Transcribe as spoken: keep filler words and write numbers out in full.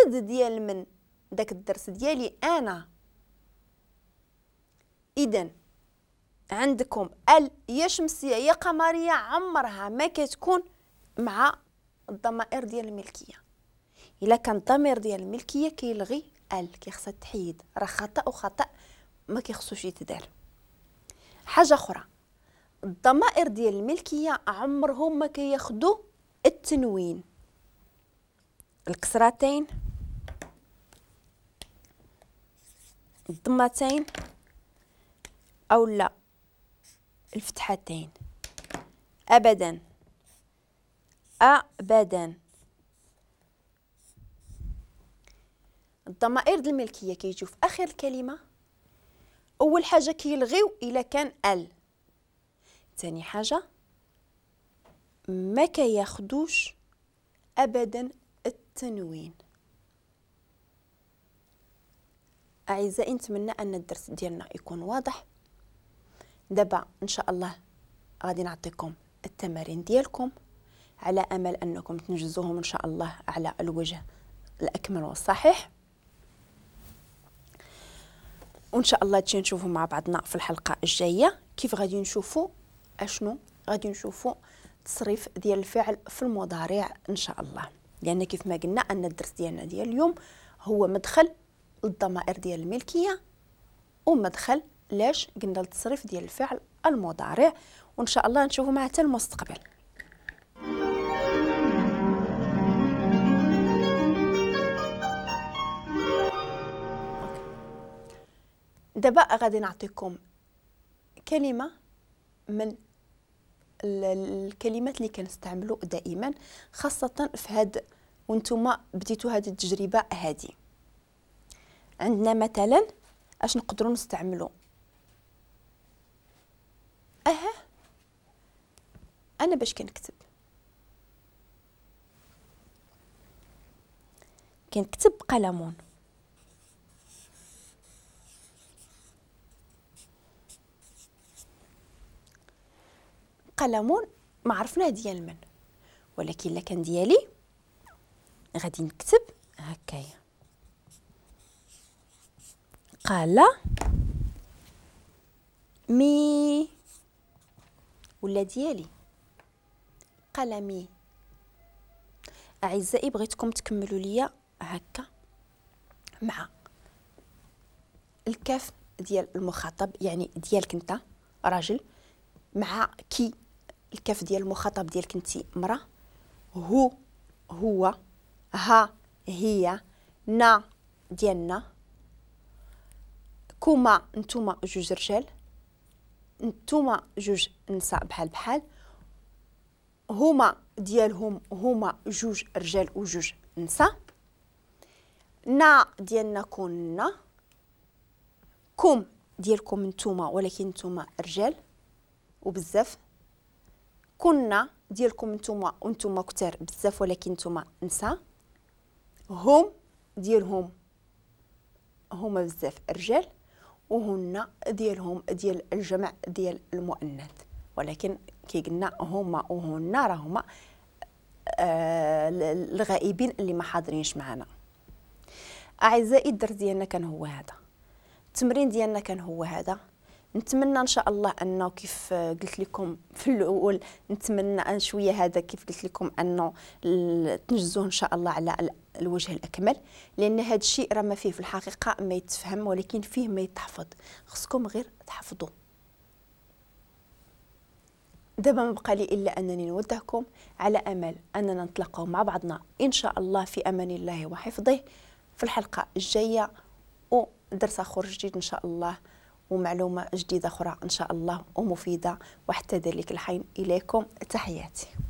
كيقصد ديال من داك الدرس ديالي انا. اذا عندكم ال يا شمسية يا قمريه عمرها ما كتكون مع الضمائر ديال الملكية. الا كان الضمير ديال الملكية كيلغي ال، كيخصها تحيد، راه خطا وخطا ما كيخصوش يتدار. حاجة اخرى، الضمائر ديال الملكية عمرهم ما كياخذوا التنوين، الكسرتين، الضمتين او لا الفتحتين، ابدا ابدا. الضمائر ديال الملكية كيجيو في اخر الكلمة. اول حاجة كيلغيو الا كان ال، ثاني حاجة ما كياخدوش ابدا التنوين. اعزائي نتمنى ان الدرس ديالنا يكون واضح. دابا ان شاء الله غادي نعطيكم التمارين ديالكم على امل انكم تنجزوهم ان شاء الله على الوجه الاكمل والصحيح، وان شاء الله تجي نشوفوا مع بعضنا في الحلقة الجاية كيف غادي نشوفوا اشنو غادي نشوفوا تصريف ديال الفعل في المضارع ان شاء الله. لان كيف ما قلنا ان الدرس ديالنا ديال اليوم هو مدخل للضمائر ديال الملكية ومدخل لاش قلنا للتصريف ديال الفعل المضارع، وان شاء الله نشوفوا مع حتى المستقبل. دابا غادي نعطيكم كلمة من الكلمات اللي كنستعملوا دائما، خاصة في هاد وانتم بديتوا هذه التجربة هذه. عندنا مثلا اش نقدروا نستعملوا؟ اها انا باش كنكتب كنكتب قلمون، قلمون ما عرفناه ديال من، ولكن الا كان ديالي غادي نكتب هكايا قال مي، ولا ديالي قلمي. اعزائي بغيتكم تكملوا ليا هكا مع الكاف ديال المخاطب، يعني ديالك انت راجل، مع كي الكاف ديال المخاطب ديالك انت مراة، هو هو، ها هي، نا ديالنا، كوما نتوما جوج رجال، نتوما جوج نساء بحال بحال، هما ديالهم هما جوج رجال وجوج نساء، نا ديالنا كنا، كم ديالكم نتوما ولكن نتوما رجال وبزاف، كنا ديالكم نتوما وانتوما كتار بزاف ولكن نتوما نساء، هم ديالهم هما بزاف رجال، وهن ديالهم ديال الجمع ديال المؤنث، ولكن كي قلنا هما وهن راهما آه الغائبين اللي ما حاضرينش معنا. اعزائي الدرس ديالنا كان هو هذا، التمرين ديالنا كان هو هذا. نتمنى ان شاء الله انه كيف قلت لكم في الاول، نتمنى ان شوية هذا كيف قلت لكم انه تنجزوه ان شاء الله على الوجه الاكمل، لان هذا الشيء راه ما فيه في الحقيقة ما يتفهم، ولكن فيه ما يتحفظ، خصكم غير تحفظوا. دابا ما بقى لي الا انني نودعكم على امل اننا نتلاقاو مع بعضنا ان شاء الله في امان الله وحفظه في الحلقة الجاية، ودرس اخر جديد ان شاء الله، ومعلومة جديدة أخرى إن شاء الله ومفيدة. وحتى ذلك الحين إليكم تحياتي.